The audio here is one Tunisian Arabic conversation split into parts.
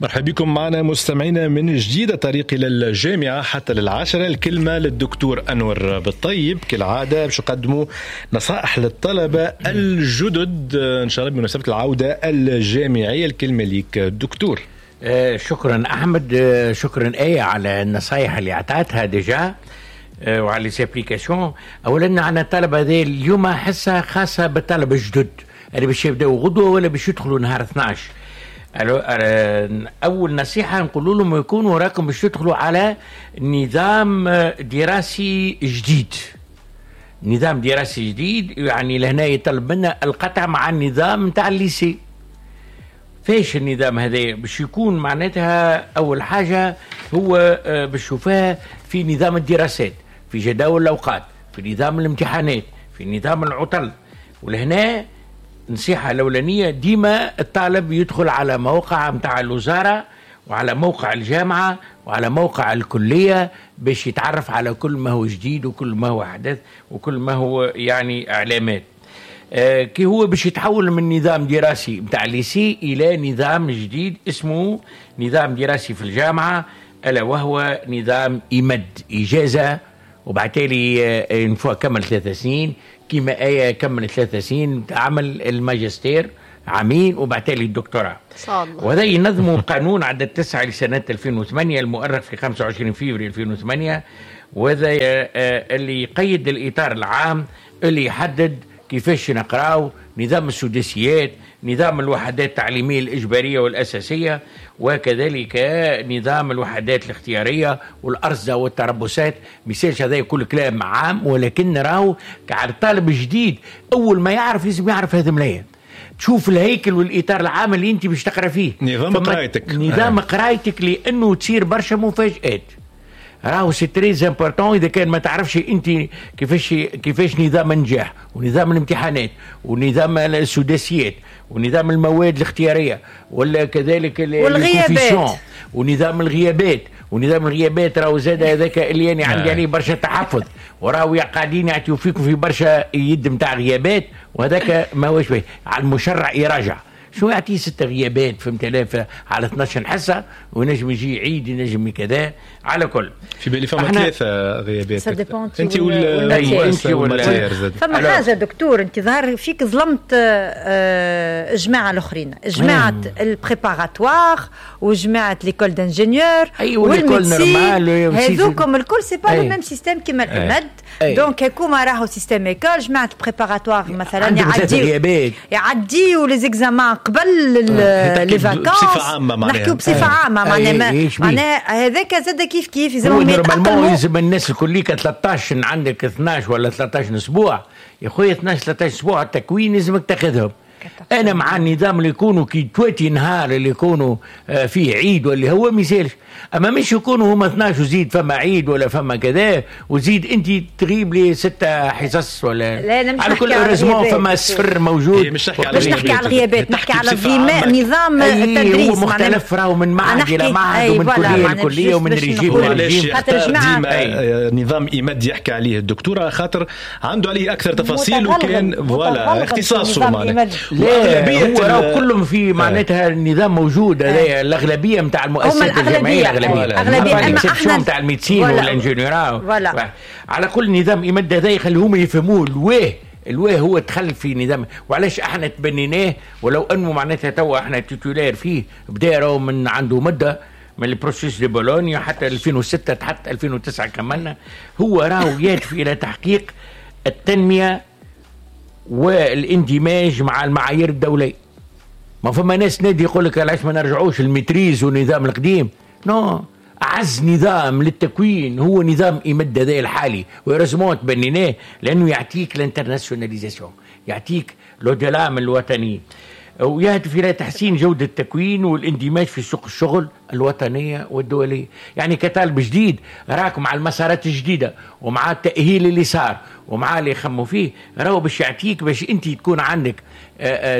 مرحبا بكم معنا مستمعينا من جديد، طريق إلى الجامعة حتى للعشرة. الكلمة للدكتور أنور بالطيب كالعادة باش يقدموا نصائح للطلبة الجدد إن شاء الله بمناسبة العودة الجامعية. الكلمة لك دكتور. شكرا أحمد، شكرا آية على النصائح اللي أعطتها déjà وعلى les applications. أولا عندنا الطلبة هذه اليوم حصة خاصة بالطلبة الجدد اللي باش يبداو غدوة ولا باش يدخلوا نهار 12. أول نصيحة نقول لهم يكونوا راكم باش تدخلوا على نظام دراسي جديد. نظام دراسي جديد يعني لهنا يطلب منا القطع مع النظام نتاع ال lycée. فاش النظام هذا باش يكون؟ معناتها أول حاجة هو باش تشوفها في نظام الدراسات، في جداول الأوقات، في نظام الامتحانات، في نظام العطل. ولهنا نصيحة الأولانية ديما الطالب يدخل على موقع متاع الوزارة وعلى موقع الجامعة وعلى موقع الكلية باش يتعرف على كل ما هو جديد وكل ما هو حدث وكل ما هو يعني إعلامات. كي هو باش يتحول من نظام دراسي متاع lycée إلى نظام جديد اسمه نظام دراسي في الجامعة، ألا وهو نظام إمد إجازة، وبعتالي une fois كمل 3 سنين كما آية كمل 3 سنين عمل الماجستير عامين وبعتالي الدكتوراه. وهذا ينظم قانون عدد 9 لسنة 2008 المؤرخ في 25 فبراير 2008، وهذا اللي يقيد الإطار العام اللي يحدد كيفاش نقراو نظام السداسيات، نظام الوحدات التعليمية الإجبارية والأساسية، وكذلك نظام الوحدات الاختيارية والأرصدة والتربصات. مثالش هذا كل كلام عام، ولكن راهو على الطالب الجديد أول ما يعرف لازم يعرف هذا ملايين. تشوف الهيكل والإطار العام اللي أنت باش تقرأ فيه، نظام قرايتك، نظام قرايتك، لأنه تصير برشا مفاجآت. راهو c'est très important اذا كان ما تعرفش انت كيفاش نظام النجاح ونظام الامتحانات ونظام السداسيات ونظام المواد الاختيارية ولا كذلك والغيابات ونظام الغيابات. ونظام الغيابات راهو زاد هذاك اللي يعني عندي عليه برشا تحفظ، وراهو قاعدين يعطيو فيكم في برشا يد نتاع غيابات، وهذاك ما هوش باهي. على المشرع يراجع شو يعطيه 6 غيابات فهمت على 12 حصة، ونجم يجي عيد ينجم كذا. على كل في بالي فما 3 غيابات انت ولا فما حاجة دكتور، انت ظهر فيك ظلمت جماعة الاخرين، جماعة ال préparatoire وجماعه l'école d'ingénieurs وال médecine، هذوكم الكل c'est pas le même système كيما الامد. donc هكوما راهو système école. جماعة ال préparatoire مثلا يعديو les examens قبل les vacances، بصفة عامة معناها نحكيو بصفة عامة معناها هذاك زاد كيف كيف يلزمهم يتاقلموا. يلزم الناس الكل 13 عندك 12 ولا 13 اسبوع يا خويا، 12 13 اسبوع التكوين لازمك تاخذهم. انا مع النظام اللي يكونوا كي تواتي نهار اللي يكونوا فيه عيد واللي هو ما يسالش، اما مش يكونوا هما 12 وزيد فما عيد ولا فما كذا وزيد انت تغيب لي 6 حصص ولا. لا على كل heureusement فما صفر موجود. مش نحكي على الغيابات، نحكي على نظام التدريس هو مختلف، راهو من معهد الى معهد ومن كليه لكليه ومن ريجيم لريجيم. ديما نظام إمد يحكي عليه الدكتورة خاطر عنده عليه اكثر تفاصيل وكان voilà اختصاصه معناها. لا هو راهو كلهم في معناتها النظام موجود هذايا. الاغلبية نتاع المؤسسات الجامعية الاغلبية اما احنا نتاع ال médecine وال ingénieur. على كل نظام إمد هذا يخليهم يفهموه الواه هو دخل في نظام، وعلاش احنا تبنيناه ولو انه معناتها توا احنا titulaires فيه بدا راهو من عنده مده من ال processus de Bologne حتى 2006 حتى 2009 كملنا. هو راهو يهدف الى تحقيق التنمية والاندماج مع المعايير الدولية. ما فما ناس نادي يقول لك علاش ما نرجعوش ال maîtrise والنظام القديم. non، أعز نظام للتكوين هو نظام إمد هذا الحالي، و heureusement تبنيناه لأنه يعطيك l'internationalisation، يعطيك l'au-delà من الوطني، ويهدف إلى تحسين جودة التكوين والاندماج في سوق الشغل الوطنية والدولية. يعني كطالب جديد راك مع المسارات الجديدة ومع التأهيل اللي صار ومع اللي يخموا فيه، راهو باش يعطيك باش أنت تكون عندك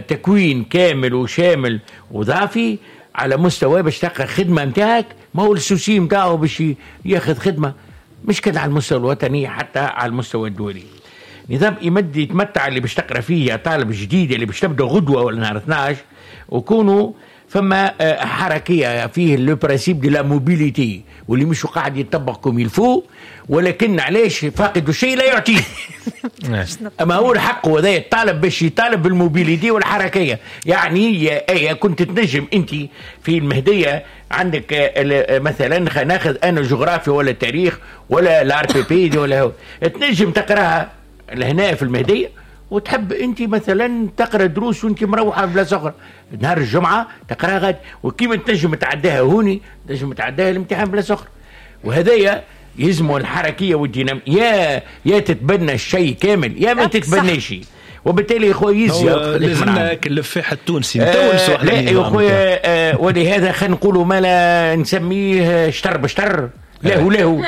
تكوين كامل وشامل وضافي على مستوى باش تلقى خدمة متاعك. ما هو ال souci متاعه باش ياخذ خدمة مش كان على المستوى الوطني حتى على المستوى الدولي. نظام يمد يتمتع اللي باش تقرا فيه يا طالب جديد اللي باش تبدا غدوه ولا نهار 12، وكونوا فما حركية فيه le principe de la mobilité واللي مش قاعد يطبق comme il faut، ولكن علاش فاقد الشيء لا يعطيه. اما هو الحق هذا الطالب باش يطالب بال mobilité والحركيه. يعني يا كنت تنجم انت في المهدية عندك مثلا ناخذ انا جغرافيا ولا تاريخ ولا ال RPP ولا هو، تنجم تقراها لهنا في المهدية، وتحب انت مثلا تقرا دروس وانت مروحة في بلاصة اخرى نهار الجمعة تقراها غاد، وكيما تنجم تعداها هوني تنجم تعداها الامتحان بلاصة اخرى. وهذايا يلزموا الحركية والدينام، يا تتبنى الشيء كامل يا ما تتبناش. وبالتالي يا خويا يزي لازمنا الفاح التونسي نتونسوا احنا. لا يا خويا، ولهذا خلينا نقولوا ما لا نسميه شتر بشتر، لا هو لا هو.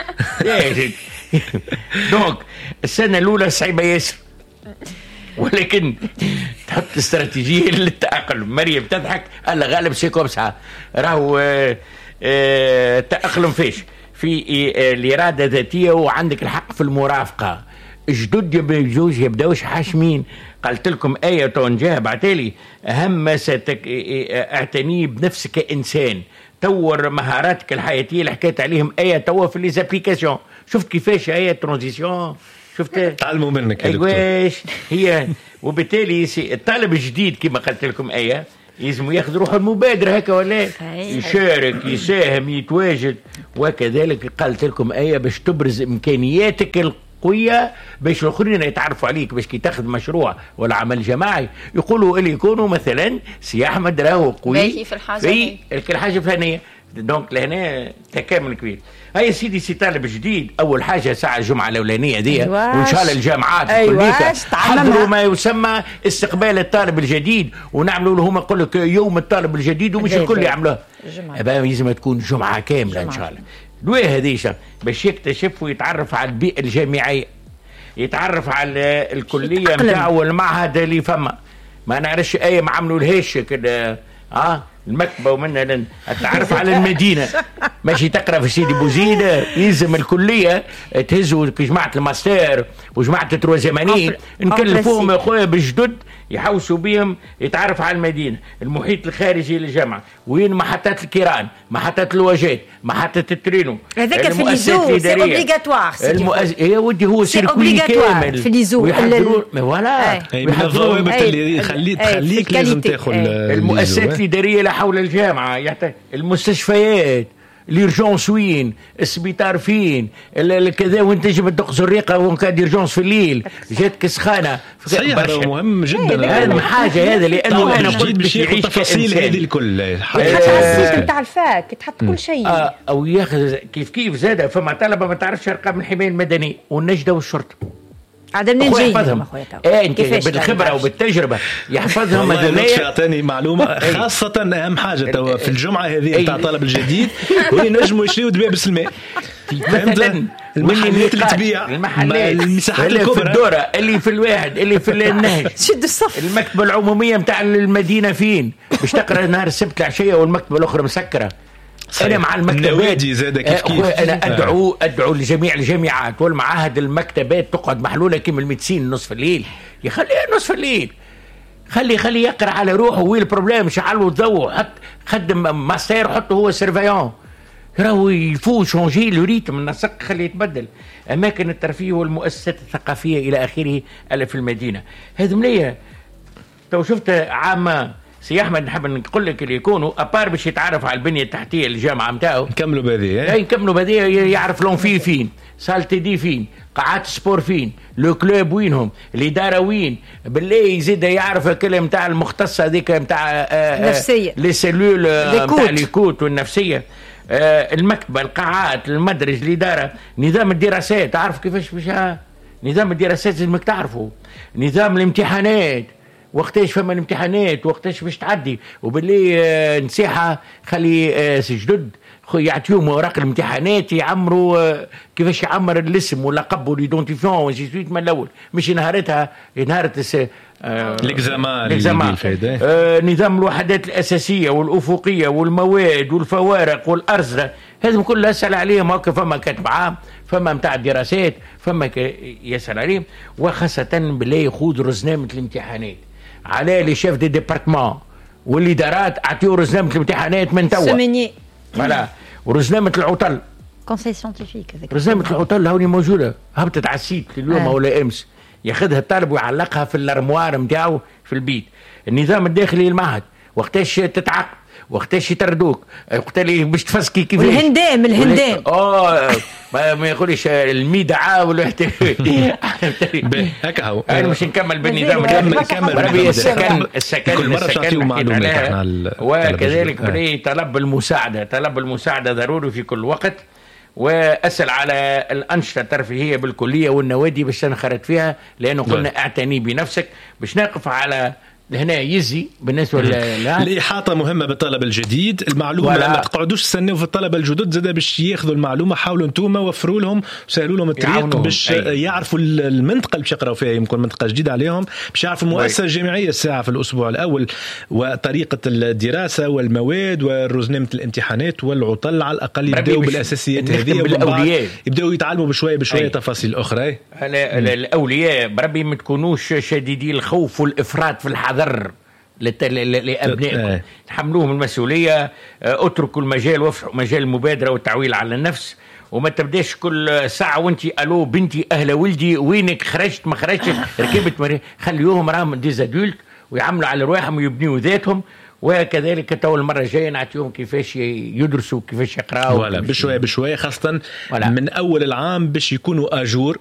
donc السنة الاولى صعيبة ياسر، ولكن تحط استراتيجية للتاقلم. مريم تضحك، الله غالب c'est comme ça راهو التاقلم فيش في الارادة الذاتية، وعندك الحق في المرافقة. جدد يجوز يبداوش حاشمين. قالت لكم ايه تونجاه بعتالي اهم ما اعتني بنفسك كانسان، طور مهاراتك الحياتية اللي حكيت عليهم ايه توا في les applications. شفت كيفاش ايه transition، شفت تعلموا منك يا دكتور. ايواش هي. وبالتالي الطالب الجديد كما قلت لكم ايه يلزم ياخذ روحه المبادرة هكا ولا يشارك يساهم يتواجد. وكذلك قالت لكم ايه باش تبرز امكانياتك القوية باش الاخرين يتعرفوا عليك، باش كي تاخذ مشروع ولا عمل جماعي يقولوا اللي يكونوا مثلا سي احمد راهو قوي في الحاجة في الحاجة الفلانية. donc لهنا تكامل كبير. هيا سيدي سي طالب جديد، اول حاجة ساعة الجمعة الاولانية دي، وان شاء الله الجامعات الكلية حضروا ما يسمى استقبال الطالب الجديد، ونعملوا لهم يقول لك يوم الطالب الجديد، ومش الكل يعملوه، لازم تكون جمعه كاملة ان شاء الله. لواه هذه باش يكتشف ويتعرف على البيئة الجامعية، يتعرف على الكلية نتاعو والمعهد اللي فما، ما نعرفش اي ما عملوا لهاش كده المكتبة ومنها تعرف على المدينة. ماشي تقرا في سيدي بوزيد، يلزم الكلية تهزوا جماعة الماستر وجماعه troisième année، نكلفوهم يا خويا بالجدد يحوسوا بهم، يتعرف على المدينة، المحيط الخارجي للجامعة، وين محطات الكيران، محطات الواجات، محطة الترينو. هذاك في l'ISO c'est obligatoire. يا ودي هو circuit كامل في l'ISO voilà، من الضوابط اللي تخليك لازم تاخذ المؤسسات الادارية حول الجامعة، يحتاج المستشفيات، l'urgence وين، السبيطار فين، الكذا، وين تنجم تدق زريقه وين كان d'urgence في الليل، جاتك سخانه. صحيح، هذا مهم جدا اهم حاجة هذا، لانه انا قلت باش ياخذ التفاصيل هذه الكل، تحط على ال site نتاع ال fac، تحط كل شيء او ياخذ كيف كيف. زاد فما طلبه ما تعرفش ارقام الحماية المدنية والنجده والشرطة، عاد منين جاي انت بالخبرة وبالتجربه يحفظهم. هذول يعطيني معلومة خاصة اهم حاجة توا في الجمعة هذه نتاع الطالب الجديد، وين ينجموا يشريوا دبابس الماء مثلا، المحلات اللي تبيع، المحلات، المساحات اللي الكبرى، في الدورة، اللي في الواحد، اللي في النهج، شد الصف، المكتبة العمومية نتاع المدينة فين باش تقرا نهار السبت العشية والمكتبه الاخرى مسكره. انا مع المكتبات النوادي زاد كيف كيف. انا ادعو لجميع الجامعات والمعاهد المكتبات تقعد محلولة كيما ال médecine نصف الليل، يخليها نصف الليل، خلي يقرا على روحه. وين ال problème؟ شعلوا الضوء، حط خدم ماستر، حطه هو surveillant، راهو il faut changer le rythme، النسق خليه يتبدل. اماكن الترفيه والمؤسسات الثقافية الى اخره اللي في المدينة هذم ليا. تو شفت عامة سي احمد، نحب نقول لك اللي يكونوا à part باش يتعرف على البنية التحتية للجامعة نتاعو، نكملوا بهذه، نكملوا بهذه، يعرف l'amphi فين، salle TD فين، قاعات sport فين، le club وينهم، الادارة وين، بالله يزيد يعرف الكلمة نتاع المختصة هذيك نتاع النفسية، les cellules نتاع l'écoute والنفسية، المكتبة، القاعات، المدرج، الادارة، نظام الدراسات، تعرف كيفاش باش نظام الدراسات لازمك تعرفه، نظام الامتحانات، وقتاش فما الامتحانات، وقتاش باش تعدي. وباللي نصيحة خلي جدد يعطيهم اوراق الامتحانات، يعمروا كيفاش يعمر الاسم واللقب وال identifiant و ainsi de suite من الاول، مش نهارتها نهار l'examen. نظام الوحدات الاساسية والافقيه والمواد والفوارق والارصده، هذا كله اسال عليهم. هكا فما كاتب عام، فما نتاع الدراسات، فما يسال عليهم. وخاصة بالله يخوض رزنامه الامتحانات على les chefs de département والادارات، اعطيو رزنامه الامتحانات من توا. semainier. voilà، ورزنامه العطل. conseil scientifique. هذاك. رزنامه العطل هوني موجوده، هبطت على ال site اليوم ولا امس، ياخذها الطالب ويعلقها في الارموار نتاعو في البيت. النظام الداخلي للمعهد، وقتاش تتعاقب، وقتاش يطردوك، وقت اللي باش تفسكي كيفاش. والهندام، الهندام. ما يقولش الميدعة ولا. هكا هو. انا مش نكمل بالنظام. كمل كمل. بربي السكن، السكن. كل مرة السكن تعطيو معلومات احنا وكذلك بلي طلب المساعده، طلب المساعدة ضروري في كل وقت. واسال على الانشطة الترفيهية بالكلية والنوادي باش تنخرط فيها، لانه قلنا اعتني بنفسك. باش نقف على هنا يزي بالنسبة لا. الإحاطة مهمة بالطلب الجديد، المعلومة. ما تقعدوش تستناو في الطلبة الجدد زاد باش ياخذوا المعلومة، حاولوا انتم وفروا لهم، سهلوا لهم الطريق باش يعرفوا المنطقة اللي باش يقراوا فيها، يمكن منطقة جديدة عليهم، باش يعرفوا المؤسسة الجامعية الساعة في الأسبوع الأول وطريقة الدراسة والمواد ورزنامة الامتحانات والعطل. على الأقل يبداوا بالأساسيات هذه، بالأولياء. يبداوا يتعلموا بشوية بشوية تفاصيل أخرى. الأولياء بربي ما تكونوش شديدي الخوف والإفراط في الحذر لابنائكم. تحملوهم المسؤوليه، اتركوا المجال وافسحوا مجال المبادرة والتعويل على النفس، وما تبداش كل ساعة وانت الو بنتي، اهلا ولدي، وينك، خرجت ما خرجتش، ركبت ما خليوهم راهم des adultes ويعملوا على رواحهم ويبنيوا ذاتهم. وكذلك تو المرة الجاية نعطيهم كيفاش يدرسوا، كيفاش يقراوا. voilà، بشوية بشويه، خاصة من اول العام باش يكونوا à jour.